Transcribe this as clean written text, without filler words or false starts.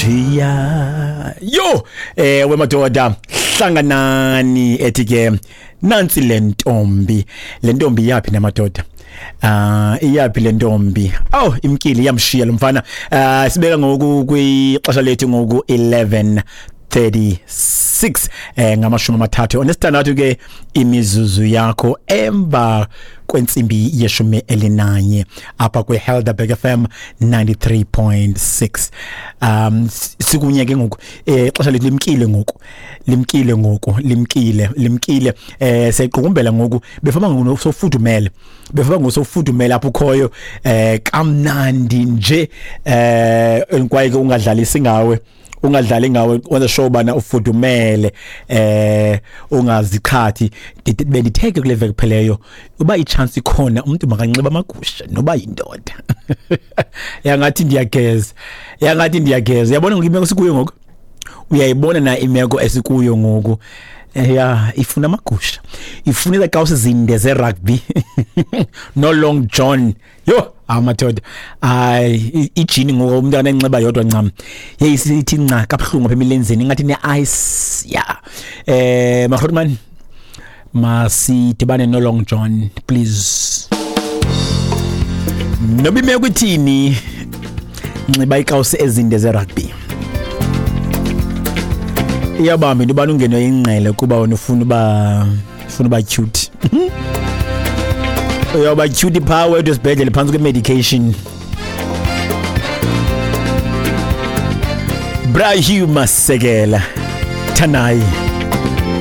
Ndishiya yo, ewe madoda, hlanganani ethi ke nansi le ntombi, le ntombi yaphi namadoda? Iyaphi le ntombi? Oh, imkile, iyamshiya lo mfana. Sibeka ngoku kwixesha lethu ngoku 11:36, 36 ke imizuzu yakho emva kwentsimbi ye-11 apha kwi-Helderberg FM 93.6. Sikunye ke ngoku, ixesha lethu limkile ngoku, limkile ngoku, limkile, limkile. Seyiqukumbela ngoku, befama ngoku sofudumele, befama ngoku sofudumele apho ukhoyo, kamnandi nje. Kwaye ke ungadlalisi ngawe, ungadlali ngawe, wenza sure bana ufudumele, ungaziqhathi. Benditheke kule veki pheleyo uba i-chance ikhona umuntu makanxiba amagusha noba yindoda. Yangathi ndiyageza, yangathi ndiyageza. Uyabona ngoku imeko esikuyo ngoku, uyayibona na imeko esikuyo ngoku? Ya, ifuna amagusha, ifuna izakawusi zinde ze-rugby no long john. Yo, amadoda, hayi, ijini ngoku umuntu anenxiba yodwa ncam, yeyi sithi nca kabuhlungu apha emilenzeni, ingathi ne-ice. Ya, mahrotman, masidibane no long john please. Noba imeko ithini, nxiba ikawusi ezinde ze-rugby. Iyabamba into ubana ungenwe ingqele kuba wena ufuna uba cute. Uyawuba cute phaa wedwa esibhedlele phantsi kwe-medication. Bra Hugh Masekela, Thanai.